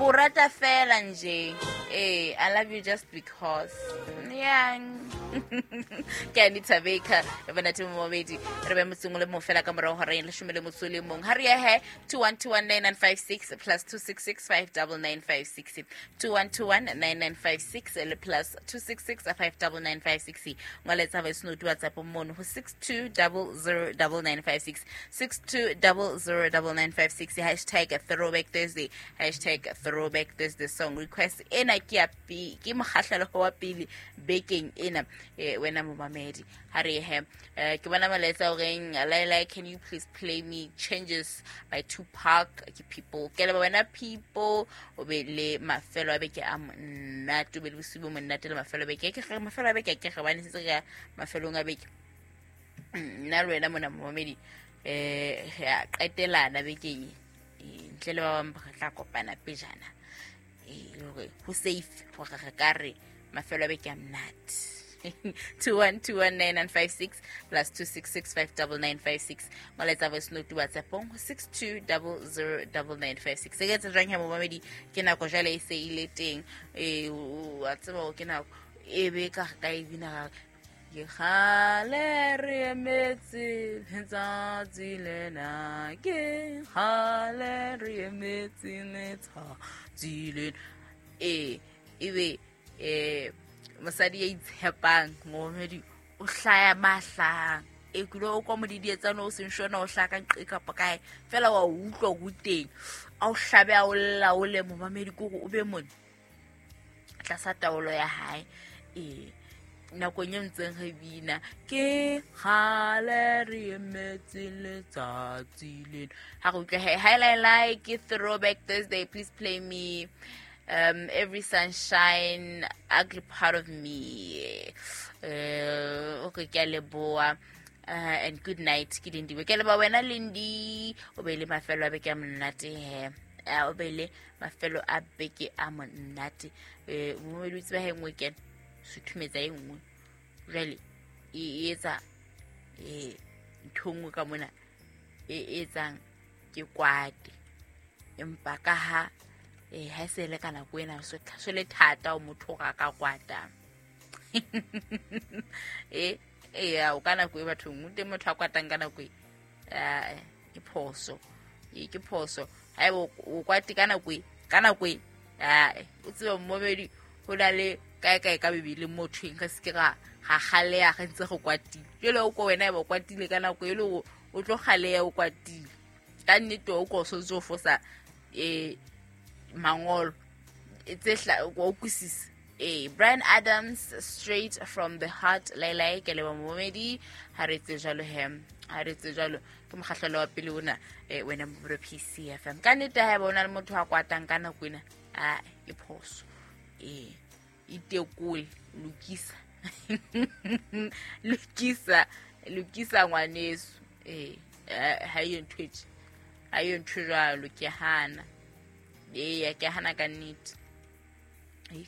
Ko rata fela nje. I love you just because. Yeah. Ke Anita Baker e bonate momedi re be motseng o le mong fela ka morago gore le shome le motso le mong. Ha re ye he 21219956 plus 266 59956, 21219956 le plus 266 59956. Ngwaletsa voice note WhatsApp mono ho 62009956, 62009956. #ThrowbackThursday, #ThrowbackThursday song request. Ena ke ya ke mokgahlelo wa pele bekeng ena. Wena momamedi, ha re he ke bona molaetsa o reng, "Laila, can you please play me Changes by Tupac?" Ke People. Ke leba wena People, o be le mafelo a beke a monate, o be le bosiu bo monate le mafelo a beke. Ke ge mafelo a beke ke ge bane setse re ya mafelong a beke. Nna le wena mona momamedi, re a qetelana bekeng e. Ntle le ba bang re tla kopana pejana, e le hore ho safe hore re ka re mafelo a beke a monate. 21219956 plus 266 59956. Molaetsa voice note WhatsAppong ho 62009956. Se ke etsa jwang ya momamedi? Ke nako jwale e se ile teng. Wa tseba hore ke nako e be ka re ka e bina ra ke kgale re emetse letsatsi lena, ke kgale re emetse letsatsi lena. Ebe mosadi ya itshepang momamedi o hlaya mahlang e kile o kwa modidietsane o seng shona o hlaya ka nqe kapa kae fela wa utlwa ho teng a o hlabe a o laole momamedi, ke hore o be mone tlasa taolo ya hae. Nakong e ntseng re bina ke kgale re emetse letsatsi lena, ha re utlwe he. Hi Laila, ke Throwback Thursday, please play me Every Sunshine, Ugly Part of Me. Okay, ke a leboa and good night. Ke Lindiwe. Ke leba wena Lindy, o be le mafelo a beke a monate he. O be le mafelo a beke a monate. Momedi o tseba he nngwe kena suthumetsa e nngwe jwale e etsa ntho e nngwe ka mona e etsang ke kwate, empa ka ha ha e se le ka nako ena so le thata o motho hore a ka kwata. Eya, o ka nako e bathong o teng motho a kwatang ka nako e. Ke phoso, ke phoso haeba o kwate ka nako e, ka nako e. O tsebe momedi ho na le kae kae ka Bebeleng mo thweng re se ke ra ga galeya re ntse re kwatile. Jwale o ko wena eba o kwatile ka nako e le hore o tlo galeya o kwatile ka nnete, o ko o sontse o fosa mangolo tse hla o utlwisisa. Bryan Adams, Straight from the Heart. Lailai, ke leba momedi. Ha re etse jwalo he, ha re etse jwalo ke mokgahlelo wa pele ona. Wena mobro PCFM, ka nnete ha eba o na le motho a kwatang ka nako ena, a ke phoso. Itekole, lokisa, lokisa, lokisa ngwaneso. Ha iyo ntho e tje, ha iyo ntho jwalo. Ke hana, eya, ke hana ka nnete.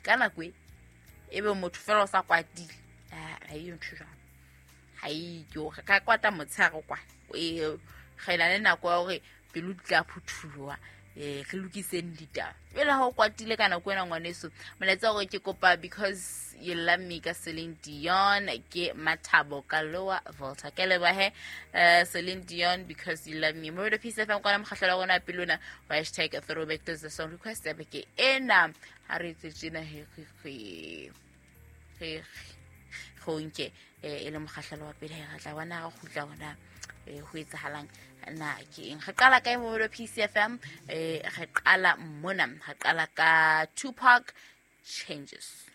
Ka nako e ebe motho fela o sa kwatile, ha iyo ntho jwalo, ha iyo. Re ka kwata motshehare kwa, re na le nako ya hore pelo di tla phuthuloha, re lokiseng ditaba. Jwale ha o kwatile ka nako ena ngwaneso, molaetsa hore ke kopa Because You Love Me ka Celine Dion. Ke Mathabo ka Lower Volta. Ke lebohe. Celine Dion, Because You Love Me. Mo Peace FM kwana mokgahlelo wa rona pele ona wa #ThrowbackThursday song request ya beke ena. Ha re etse tjena he, re re go nke e le mokgahlelo wa pele, re tla bona re kgutla bona ho etsahalang na ke eng. Re qala kae mo PCFM? Re qala mona, re qala ka Tupac, Changes.